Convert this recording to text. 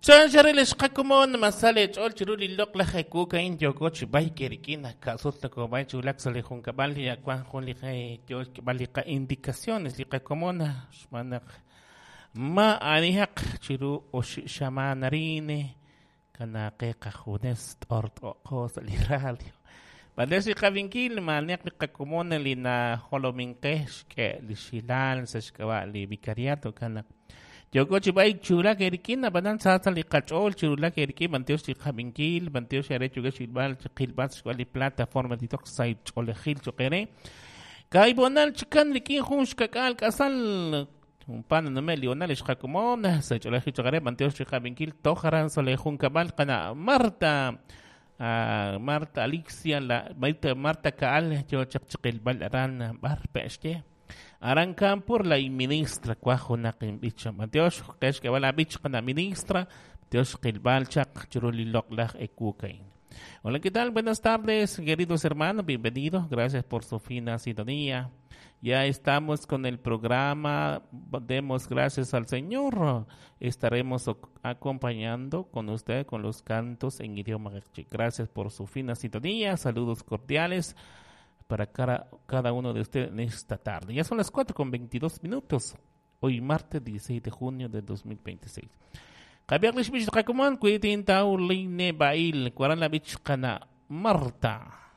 Chanxaril xqakomon masal ch'ol chiru li loq'laj ekuuk a'in yooko chi b'ayk rik'in ka'sut nakob'ay chi wulak sa' li junkab'al li wan jun li yo xk'eb'al li qa-indicaciones li qakomon xb'aan naq ma anihaq chiru oxib' xamaan arin kanaaqe qajunes t'ort'oqo sa' li radio. B'andex li qavinkil maaniaq li qakomon li najolominqe xk'e li xilal sa' xk'ab'a' li vicariato kanaq yooko chi b'ayk chiwulak erik'in ab'anan saatsa li qach'ool chiwulak erik'in b'antiox li qavinkil b'antiox are yukex xilb'al qilb'al xk'ab'a' li plataforma TikTok say ch'oolejil choq ere kaib'onal chikan rik'in jun xkak'al k'asal pan nume Lionel xqakomon sa' ch'oolejil choq ere b'antiox li qavinkil tojaran sa' li junkab'al qana' Marta Marta Alicia la Marta, Marta Kaal yo chaq chiqilb'al aran b'ar pe'xye aran Campur la ministra cuajo naqin b'ich b'antiox qex k'eb'al ab'ich qana ministra b'antiox qilb'al chaq chiru li loq'laj ekukain. Hola, ¿qué tal? Buenas tardes, queridos hermanos, bienvenidos. Gracias por su fina sintonía. Ya estamos con el programa. Demos gracias al Señor. Estaremos acompañando con usted con los cantos en idioma q'eqchi. Gracias por su fina sintonía. Saludos cordiales para cada uno de ustedes en esta tarde. Ya son las 4:22. Hoy martes 16 de junio de 2026. Qabiaq lix b'ich qakuman kuitin taw line bail kuaran la b'ich qana Marta.